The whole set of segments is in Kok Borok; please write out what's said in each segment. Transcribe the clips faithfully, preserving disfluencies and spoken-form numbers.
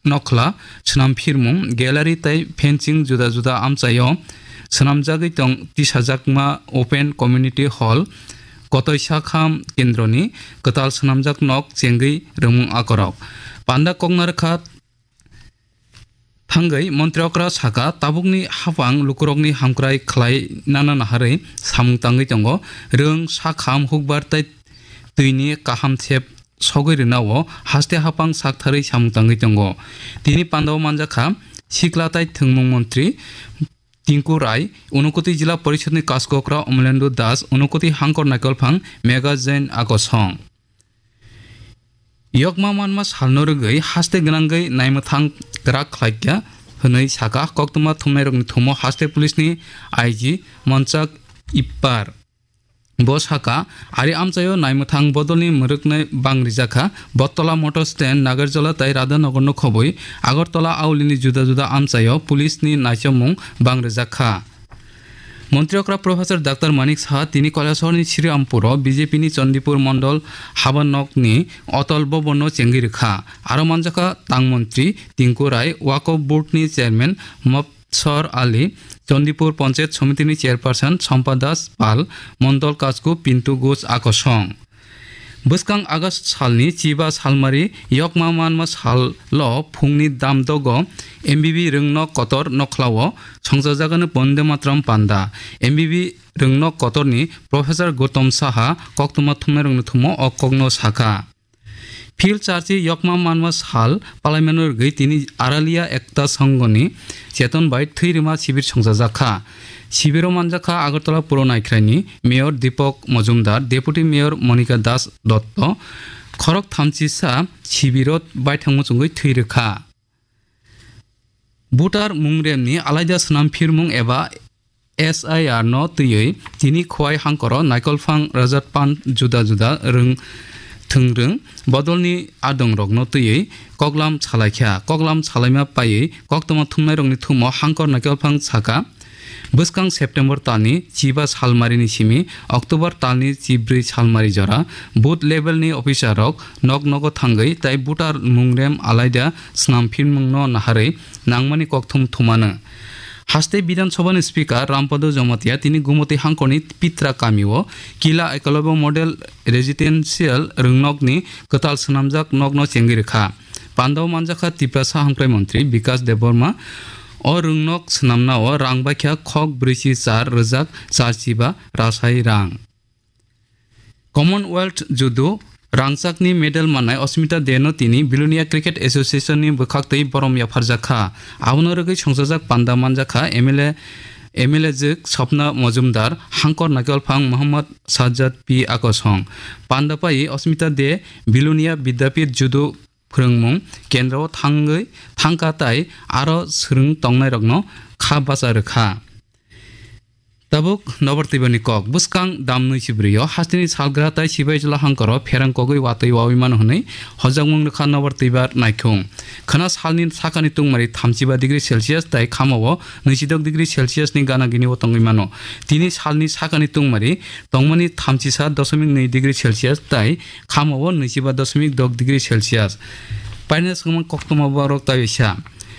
nokhla, swnam phirmung, gallery tei fencing juda juda amchaio swnamjagwi tong tisajakma open community hall, Kotoi Sakham Kendroni kwtal swnamjak nok chengwi rwmung akorok. Panda kokna rwkha thangwi Montri okra saka, tabukni haphang lukurokni hamkrai khlai nana naharwi samung tangwi tongo. Rwng, sakham, hukbar tei twini kaham sep sogwi rwnao haste haphang saktharwi samung tangwi tongo. Tini pandao manjakha sikla tei thwngmung montri Tinku Rai, Unakoti Jila Porishadni Kaskokra Omolendu Das, Unakoti Hangkor Naikolphang Megha Jain Akosong. Yokma manma salno rwgwi haste gwnangwi naimwthang kwrak khlaikha hwnwi saka koktwma thumnairokni thumo haste police-ni I G Monchak Ippar. Bo saka, ari amchaio naimwthang bodolni mwrwknai bang rijakha, Bottola Motor Stand, Nagarjola tei Radhanagarno khobwi Agartala aulini juda juda amchaio police-ni naichomung bang rijakha. Montri okra Professor Doctor Manik Saha tini Kailasahorni Sriampuro B J P-ni Chandipur Mondol Habanokni Otol Bhabanno chengwi rwkha. Aro manjakha tang montri Tinku Rai, Waqf Board-ni Chairman Mobsor Ali, Chandipur Panchayat Somitini Chairperson Sompa Das Pal, Mondol Kasku Pintu Ghosh Akosong. Bwskang August salni chiba salmari yokma manma salo phungni damdogo M B B rwngnok kotor nokhlao songchajakgani Bonde Matram panda. M B B rwngnok kotorni Professor Gautam Saha koktwma thumnairokni thumo o kokno sakha. Phil charchi yokma manma sal palaimano rwgwi tini Aralia Ekta Songhoni cheton bai thwi rwma sibir songchajakha. Sibiro manjakha Agartala Puro Naikhraini Mayor Deepak Majumdar, Deputy Mayor Monika Das Dotto, khorok thamchisa sibiro baithang muchungwi thwi rwkha. Voter mungremni alaida swnam phirmung eba S I R no twiwi tini Khowai Hangkoro Naikolphang Rajat Pan juda juda rwng thwngrwng bodolni adongrokno twiwi koklam salaikha. Koklam salaima paiwi koktwma thumnairokni thumo Hangkor Naikolphang saka, bwskang September talni chiba salmarini simi October talni chibrwi salmari jora booth levelni officerrok nok nogo thangwi tei voter mungrem alaida swnam phirmungno naharwi nangmani kokthum thumano. Haste Bidhan Sabhani Speaker Rampada Jamatia tini Gumoti Hangkorni Pitra kamio Kila Ekalobya Model Residential rwngnokni kwtal swnamjak nokno chengwi rwkha. Pandao manjakha Tiprasa Hamkrai Montri Bikas Debbarma. O rwngnok swnamnao rang baikha khok brwichi char rwjak charchiba rasai rang. Commonwealth Judo rangchakni medal mannai Asmita De no tini Bilonia Cricket Association ni bwkhaktwi borom yapharjakha. Abono rwgwi songchajak panda manjakha M L A, M L A jwk Swapna Majumdar, Hangkor Naikolphang Mohammad Sajjad P Akosong. Panda pai Asmita De Bilonia Vidyapith Judo phwrwngmung kendro thangwi thangkha tai aro swrwng tongnairokno kha bacha rwkha. Tabuk nobar twibani kok. Bwskang dam nwi chibrio hasteni salgra tai Sibaijwla Hangkoro pherang kogwi watwi wawi mano hwnwi hojakmung rwkha nobar twibar naikhung. Khwna salni sakani tungmari thamchiba degree Celsius tai khamao nwichidok degree Celsius ni gana gini o tongwi mano. Tini salni sakani tungmari tongmani thamchisa doshomik nwi degree Celsius tai khamao nwichiba doshomik dok degree Celsius. Paina swngma koktwma borok taisa.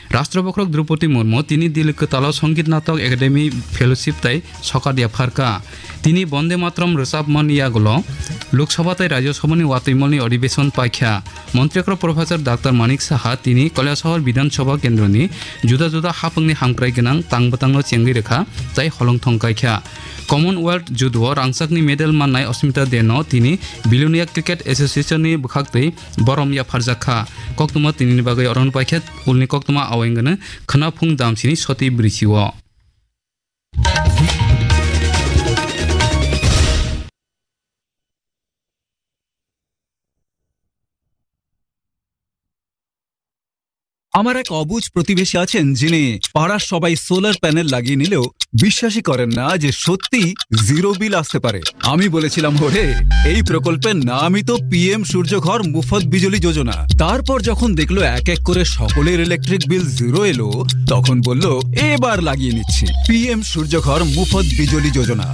Rashtra bokhorok Droupadi Murmu tini Delhi kwtalo Sangeet Natak Academy Fellowship tai sokat yapharkha. Tini Bonde Matram rwchapmani yagulo Lok Sabha tai Rajya Sabhani watwimolni adhibeshon paikha. Montri okra Professor Doctor Manik Saha tini Kailasahar Bidhan Sabha kendroni juda juda haphangni hamkrai gwnang tang bwtangno chengwi rwkha tai holong thong kaikha. Commonwealth Judo o rangchakni medal mannai Asmita De no tini Bilonia Cricket Association ni bwkhaktwi borom yapharjak kha. Koktwma tinini bagwi orono paikha ulni koktwma awengano khwnaphung damsini soti bwrwichio. আমার এক অবুঝ প্রতিবেশী আছেন, যিনি পাড়ার সবাই solar panel লাগিয়ে নিলেও বিশ্বাসই করেন না যে সত্যি জিরো বিল আসতে পারে। আমি বলেছিলাম, "ওরে, এই প্রকল্পের নামই তো পিএম সূর্যঘর মুফত বিজলি যোজনা।" তারপর যখন দেখলো এক এক করে সকলের ইলেকট্রিক বিল জিরো এলো, তখন বলল, "এবার লাগিয়ে নিচ্ছি।" পিএম সূর্যঘর মুফত বিজলি যোজনা।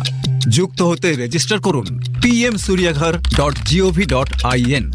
যুক্ত হতে রেজিস্টার করুন পিএম সূর্যঘর ডট জিওভি ডট আইএন।